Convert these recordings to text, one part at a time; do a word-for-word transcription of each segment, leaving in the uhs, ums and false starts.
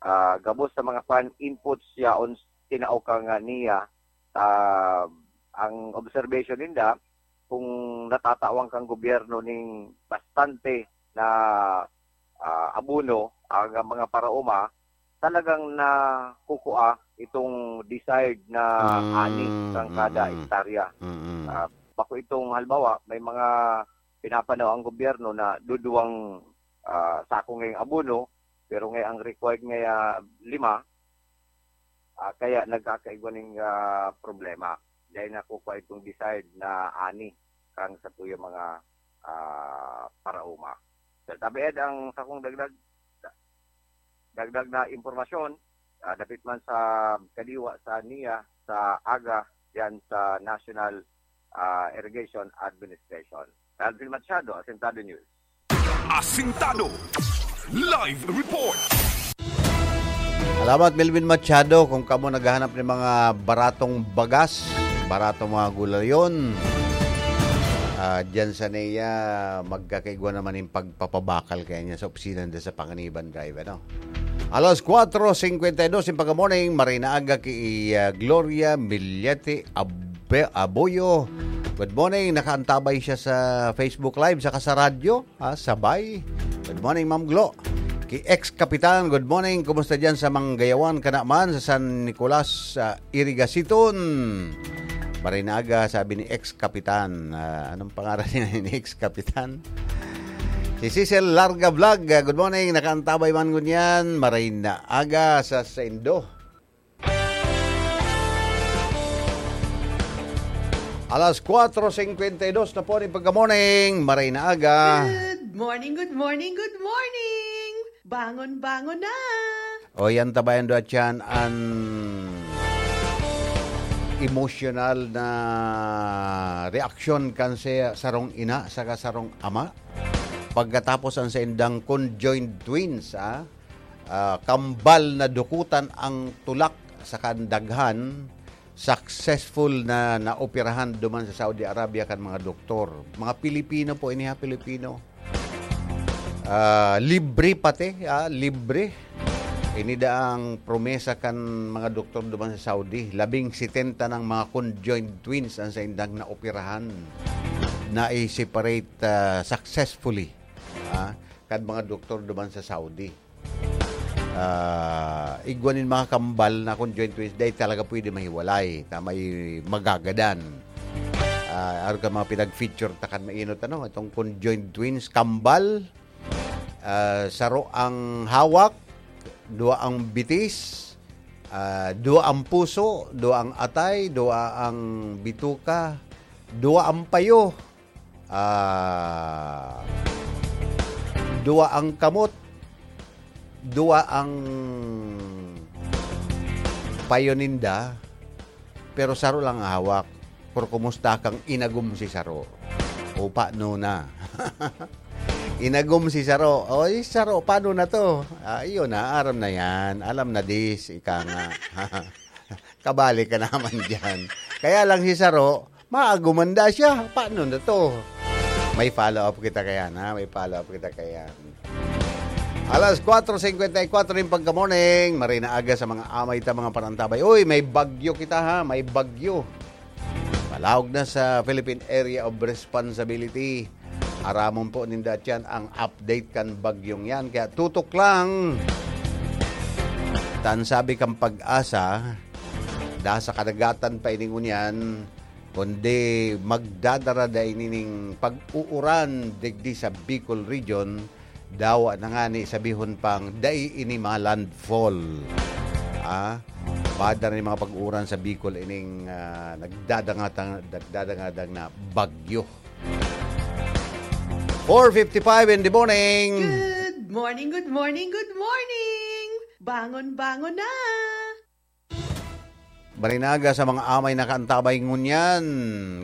ah, gabos sa mga kwan, inputs yaon tinao ka nga niya. Ah, ang observation ninda, kung natatawan kang gobyerno ning bastante na, ah, abono ang mga paraoma, talagang nakukua itong desired na Mm, ani ng kada mm, hektarya. mm. Ah, bako itong halimbawa, may mga pinapanaw ang gobyerno na duduwang, ah, sako ngayong abono, pero ngay ang required ngay, ah, lima, ah, kaya nagkakaigwa ning, ah, problema. Dahil nakukua itong desired na ani kang sa tuyang mga, ah, paraoma. Sa tabi ang sakong dagdag, dagdag na impormasyon, ah, dapit man sa kadiwa sa niya sa aga yan sa National, ah, Irrigation Administration. Alvin Machado, Asintado News. Asintado. Live report. Salamat, Melvin Machado. Kung kamo naghahanap ng mga baratong bagas, baratong mga gulayon, ah, dyan sa Nea, magkakaigwa naman yung pagpapabakal kaya niya sa opisina nila sa Panganiban Drive, ano? Alas kwatro singkwenta y dos in pagka-morning, maray na aga ki, ah, Gloria Millete Abe-, Aboyo. Good morning, nakaantabay siya sa Facebook Live, saka sa radyo, ha, sabay. Good morning, Ma'am Glo. Ki ex-kapitan, good morning. Kumusta dyan sa Manggayawan, kanaman sa San Nicolas, sa Irigasiton? Maray na aga, sabi ni ex-kapitan. Ah, anong pangaran niya ni ex-kapitan? Si Cecil Larga Vlog, ah, good morning. Nakaantabay man ngunyan. Maray na aga sa saindo. Alas kwatro singkwenta y dos na po ning pagka-morning. Maray na aga. Good morning, good morning, good morning! Bangon, bangon na! O, yan tabayan do at yan an emosyonal na reaksyon kan sa sarong ina saka sarong ama. Pagkatapos an saindang conjoined twins, ah, ah, kambal na dukutan ang tulak sa kandaghan, successful na naoperahan duman sa Saudi Arabia kan mga doktor. Mga Pilipino po ini, ha, Pilipino. Ah, libre pati, ah, libre. Ini daang promesa kan mga doktor duman sa Saudi. Labing setenta ng mga conjoined twins ang saindang naoperahan. Na-separate, ah, successfully, ah, kan mga doktor duman sa Saudi. Ah, igwa nin mga kambal na conjoined twins, dai talaga pwede mahiwalay, ta may magagadan. Ah, arog kan mga pinag-feature ta kan mainot, ano, itong conjoined twins, kambal, ah, saro ang hawak, duwa ang bitis, ah, duwa ang puso, duwa ang atay, duwa ang bituka, duwa ang payo, ah, duwa ang kamot, duwa ang payo ninda, pero saro lang ang hawak. Pero kumusta kang inagom si saro? O paano na? Inagom si saro. O, si saro, paano na to? Ah, yun na, aram na yan. Alam na this, ika nga. Kabali ka naman dyan. Kaya lang si saro, maagumanda siya. Paano na to? May follow-up kita kayan, ha? May follow-up kita kayan. Alas kwatro singkwenta y kwatro yung pagka-morning. Maray na aga sa mga amay ta, mga parantabay. Uy, may bagyo kita, ha? May bagyo. Malaog na sa Philippine Area of Responsibility. Aramon po ninda tiyan ang update kan bagyong yan. Kaya tutok lang. Tan sabi kan Pag-asa, da sa kadagatan pa ini ngunyan, kundi magdadara da ini ning pag-uuran digdi sa Bicol Region, dawa na ngani sabihon pang dai ini ma-landfall. Ah, bada na yung mga pag-uuran sa Bicol ining, ah, nagdadangata-, nagdadangadang na bagyo. Four fifty-five in the morning. Good morning, good morning, good morning! Bangon, bangon na! Maray na aga sa mga amay nakaantabay ngunyan.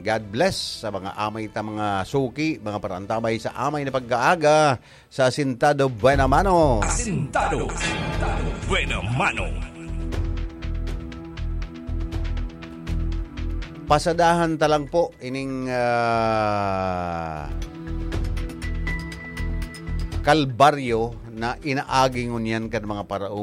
God bless sa mga amay ta, mga suki, mga parantabay sa amay na pagkaaga sa Asintado Buena Mano. Asintado Buena Mano. Pasadahan ta lang po ining, ah, kalbaryo na inaagi ngunyan kan mga paraoma.